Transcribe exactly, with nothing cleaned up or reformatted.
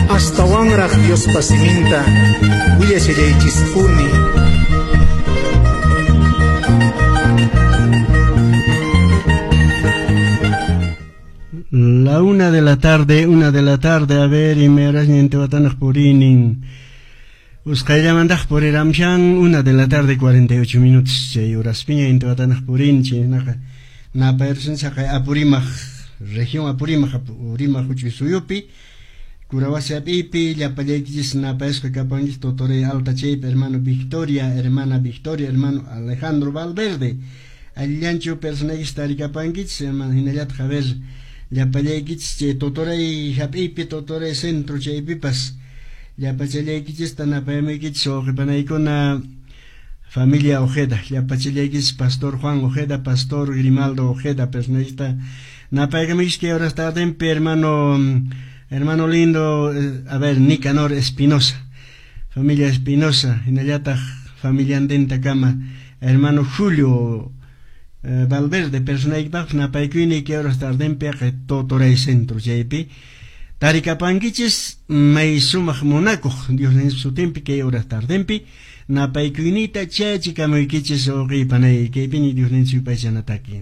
Astawanraq Diospa siminta willashallaychispuni. La una de la tarde, una de la tarde, a ver, y me horas purinin. Usqayllamantaq puriramshan, una de la tarde, cuarenta y ocho minutos, chay horaspiña intiwatanaq purin, chaynaqa napayrusun chaqay Apurímac, región Apurímac, Apurímac huch'uy suyupi, Curawasi hap'iypi, llapallaykichis napayasqa kapanchis Totoray Alta chaypi, hermano Victoria, hermana Victoria, hermano Alejandro Valverde. Allillanchu personaykis tarikapankichis, hermano, hinallataq, a ver, llapallaykichis chay Totoray hap'iypi, Totoray centro chaypipas, llapachallaykichista napayamuykichis wawqipanaykuna familia Ojeda, llapachallaykichis Pastor Juan Ojeda, Pastor Grimaldo Ojeda, personaykista napaykamuykichis kay horas tardenpi, hermano, hermano lindo, a ver, Nicanor Espinosa, familia Espinosa, hinallataq familiantintakama, hermano Julio eh, Valverde, personaykipaqpas napaykuyni kay horas tardenpi Totoray centro chaypi tarikapankichis may sumaq munakuq Dios ninchis sutinpi kay horas tardenpi napaykuynita chachikamuykichis wawqipanay kaypini Dios ninchis yupaychanataki.